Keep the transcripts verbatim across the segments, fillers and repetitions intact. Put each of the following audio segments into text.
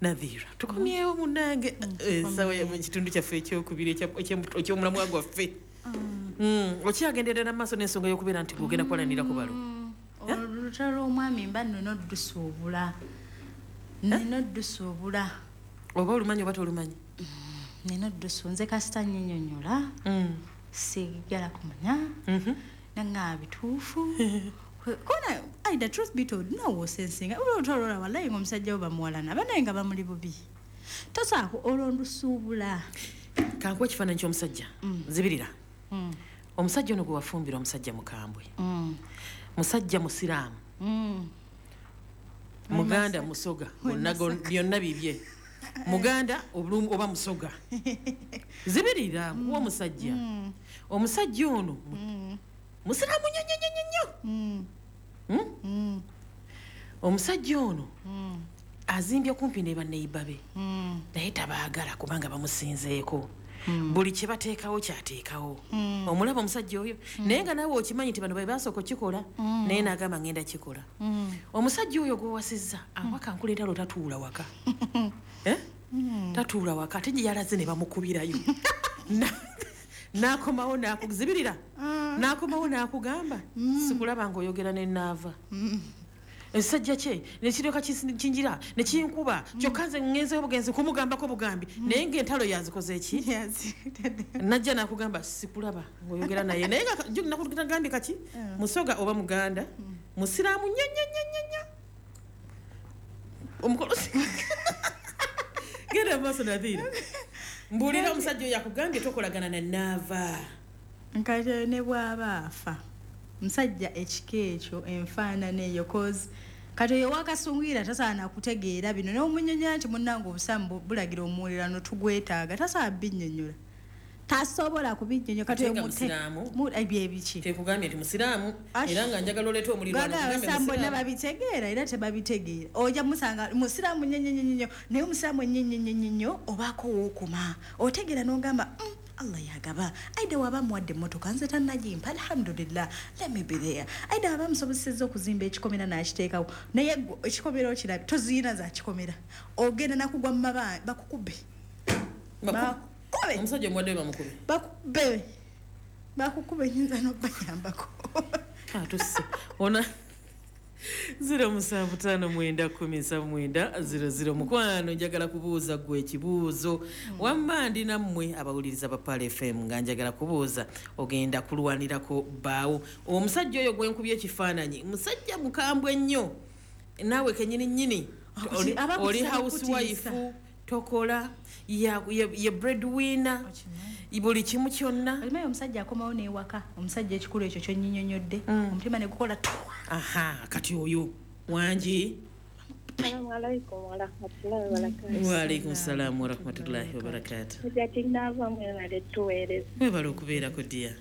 Nadhira, tukomyewo munange ensawo mu kitundu kyaffe ekyokubiri ekya- eky'omu- ekyomulamwa gwaffe. Mm, okyagenderera mu maaso n'ensonga y'okubeera nti gwogenda kuwalanira ku balo. Olutalo lw'omwami mba nina oddusuubula, nina oddusuubula. Oba olumanyi oba tolumanyi? Nina oddusu, nze kasita nnyinyonnyola, Mm. sigala kumanya Mhm. nanga bituufu kona. Aida, truth be told, nawe osensinga olutalo olwa wallayi nga omusajja wo bamuwalana, banaye nga bamuli bubi, tosaako olwo ndusuubula. Kankuwa ekifaananyi ky'omusajja, nzibirira. Mm. Omusajja ono gwe wafumbira, omusajja mukambwe, Mm. musajja musiraamu, Mm. muganda, musoga, bonna go- byonna bibye, muganda obulumu oba musoga. Zibirira, nkuwa omusajja. Omusajja ono mu- musiraamu nnyo nnyo nnyo nnyo. Mm. Hmm? Mm. Omusajja ono Mm. azimbye kumpi ne banneiba be, Mm. naye tabaagala kubanga bamusinzeeko. Buli kye bateekawo kyateekawo. Omulaba omusajja oyo, naye nga naawe okimanyi nti bano be basooka okikola, naye n'agamba ngenda kikola. Omusajja oyo gw'owasizza awaka, nkuleetalo, tatuula waka. Eh? Tatuula waka, ate gye yalaze ne bamukubirayo. Na- n'akomawo n'akuzibirira, n'akomawo n'akugamba, "Sikulaba ng'oyogera nenaava ekisajja kye nekiryoka kinjira nekinkuba." Kyokka nze ŋŋenzeyo bugenzi kumugambako bugambi, naye ng'entalo yazikoze eki. Najja nakugamba, "Sikulaba ng'oyogera naye," naye nga ju- nakugambye kaki, musoga oba muganda, musiraamu nnyo nnyo nnyo nnyo nnyo. Omukolo genda maaso. Nadhira, mbuulira, omusajja oyo akugambye tokolagana na naava. Nkati ne bw'aba afa, musajja ekika ekyo, enfaanana eyo, cause kati oyo wakasungwira tasaana kutegeera bino. Neomunyonyola nti munnange obusaamu bu- bulagira omuwulirano tugwetaaga, tasobola binnyonnyola, tasobola kubinnyonnyola. Kati Ate oyo nga mute- musiraamu? mu- ebyo ebiki? Tekugambye nti musiraamu, Ash. era nga njagala oleeta omulirwano. Bagamba Kugambe abasiraamu bonna musiraamu. Babitegeera era tebabitegeera. Ojja musanga musiraamu nnyo nnyo nnyo nnyo, naye omusiraamu ennyo nnyo nnyo nnyo nnyo obaako wookoma otegeera n'ogamba, "Mm, Allah yagaba." Aida waba muwadde emmotoka, nze tannagimpa, alhamdulillah, let me be there. Aida waba musobosezza okuzimba ekikomera n'akiteekawo, naye gwe ekikomera okirabe, toziina za kikomera, ogenda nakugwa mu mabanja bakukube. Baku- Bakukube. Omusajja omuwadde bamukube? Bakukube, bakukube, nyinza n'obayambako. Atusse ona zero musanvu ttaano mwenda kumi nsanvu mwenda zero zero. Mukwano, njagala kubuuza gwe ekibuuzo. Wamma ndi nammwe abawuliriza ba Pearl F M, nga njagala kubuuza, ogenda kulwanirako bbaawo? Omusajja oyo gwenkubye ekifaananyi, musajja mukambwe nnyo, naawe kenyini nnyini Akuti- oli- abakutisaba oli housewife, kutiisa. tokola, ya- ye ye breadwinner buli kimu kyonna. Olimayo omusajja akomawo newaka, omusajja ekikulu ekyo kyonnyinyonnyodde, omutima ne gukola tu. Aha, kati oyo wangi. Assalamu alaikum warahmatullahi wabarakatuh. Waalaikum salaamu warahmatullahi wabarakatu. Hajjati naava, mwebale tuweereza. Webale okubeerako, dear.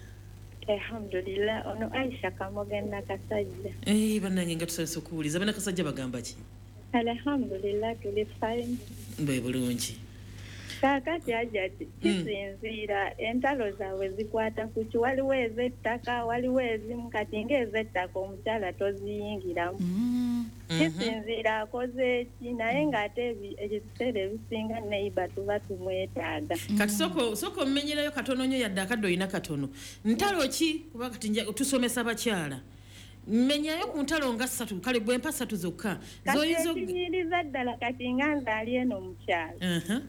Alhamdulillah, ono Aisha Kamoga Nakasajja. Eh, bannange, nga tusanyusa okuwuliza. Bannakasajja bagamba ki? Alhamdulillah, tuli fine. Bwe bulungi. Kaakati Hajjati, kisinziira entalo zaabwe zikwata ku ki. Waliwo ez'ettaka, waliwo ezimu kati ng'ez'ettaka omukyala toziyingiramu. Kisinziira akoze ki, naye ng'ate ebi- ebiseera ebisinga neighbour tuba tumwetaaga. Kati sooka sooka omumenyerayo katono nnyo, yadde akadde olina katono. Ntalo ki? Kuba kati nja- tusomesa bakyala. Menyayo ku ntalo nga ssatu, kale gwe mpa ssatu zokka Kati zoyinza og- ekinyiriza ddala kati nga nze ali eno mukyalo, Aha.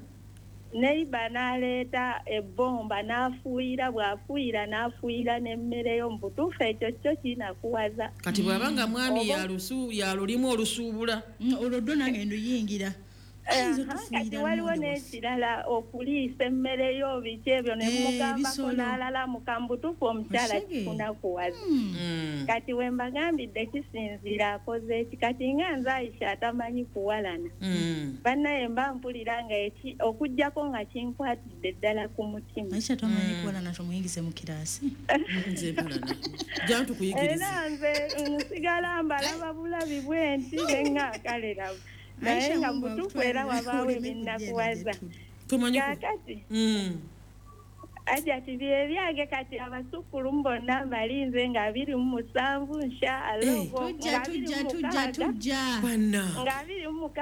neighbour n'aleeta ebbomba n'afuuyira, bw'afuuyira n'afuuyira n'emmere yo, mu butuufu ekyo kyo kinakuwaza. Kati bw'aba nga mwami Oba- yalusu yalulimu olusuubula? Mm, olwo ddo nange nduyingira. Ayinza Aha, kati otufuuyira waliwo lumonde waffe. N'ekirala, okuliisa emmere yo, biki ebyo ne Eh, mugambako ebisolo. n'alalamuka, mu butuufu omukyala Osege. kikunakuwaza. Mm. Kati we mbagambidde kisinziira akoze eki. Kati nga nze Aisha atamanyi kuwalana, Mm. bannaye mba mpulira nga eki okugjako nga kinkwatidde ddala ku mutima. Aisha tomanyi kuwalana, tomuyingize mu kiraasi. Nze mpalana, jantukuyigiriza. Era nze nsigala mbalaba bulabi bwe nti nenga kalerabu, naye Aisha, nga Mungu mutuufu era akutwalire wabaawo oleme ebinakuwaza. kujja eno gye tuli. Tomanyi ku- Kaakati Mm. Ajati byebyange, kati abasukkulumu bonna mbalinze nga abiri mu musanvu nsha Eh. Tujja, tujja, tujja, tujja. Bana. Nga abiri mu mukaaga.